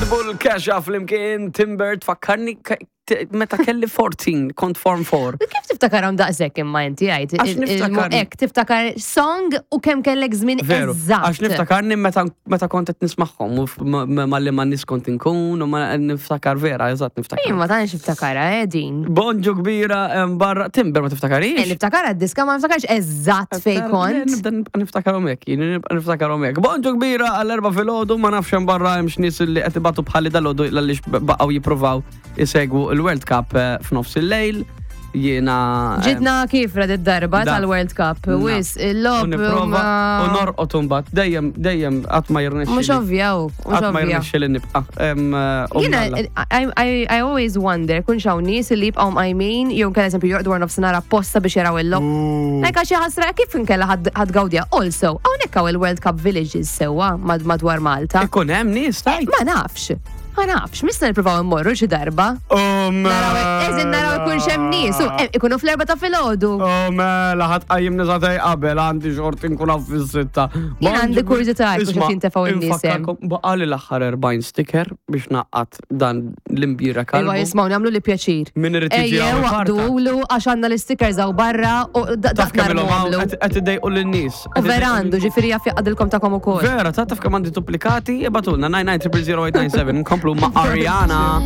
Pitbull Kesha flimkien Timber tfakkarni meta kelli 14, kont form 4. Kif tiftakarhom daqshekk imma inti għajt? Għax niftakar. Hekk tiftakar song u kemm kellek żmien Veru, eżatt. għax niftakarni meta kont qed nismagħhom u malli ma nies kont inkun u ma niftakar vera, eżatt niftakar. Jien ma tantx niftakarha eh din. Bonġu kbira barra Timber ma tiftakarix? Niftakar d-diska ma niftakarx eżatt fej kont. Nibda nibqa' niftakarhom hekk, jien nibqa' niftakarhom hekk. Bonġu kbira għall-4 filgħodu ma nafx hemm barra hemm x'nies li qed ibatu bħali dalgħodu għaliex baqgħu jippruvaw isegwu il-World Cup f'nofs il-lejl. Jiena Ġitna kifra d-darba tal-World Cup. Wis, il-lob. U nipprova u norqod imbagħad dejjem dejjem qatt ma jirnexxi. Mhux ovvja, u, mhux Qatt ma ovvja. jirnexxi li nibqa'. Jiena, I always wonder, kun xaw nies li jibqgħu mqajmin, jew nkella eżempju jorqdu wara nofsinhar apposta biex jaraw il-logħob. Like għax ħasra kif inkella ħa tgawdiha. Also, hawnhekk hawn il-World Cup Villages sewwa madwar Malta. Ikun hemm nies tajt. Ma nafx. Ma nafx, mista nippruvaw immorru xi darba. Oh, Naraw, eżin naraw ikun hemm nies, u ikunu fl-4 ta' filgħodu. Oh, mela, ħa tqajjimni sagħtejn qabel, għandi xorti nkun hawn fis-6. Jien għandi kurżità jekk Isma', qed jintefgħu in-nies hemm. infakkarkom, baqali l-aħħar 40 sticker biex naqqat dan l-imbira Iva kalbu. jismaw nagħmlu li pjaċir. Min irid jiġi Ejjew hawn waqdu iparta. lu għax għandna l-stickers hawn barra u Taf kemm ilhom hawn narmu qed iddejqu lin-nies. U vera għandu, ġifieri jaf jaqadilkom tagħkom ukoll. Vera, ta' taf kemm għandi duplikati, ibagħtulna 99 000 897 nkomplu ma' Ariana.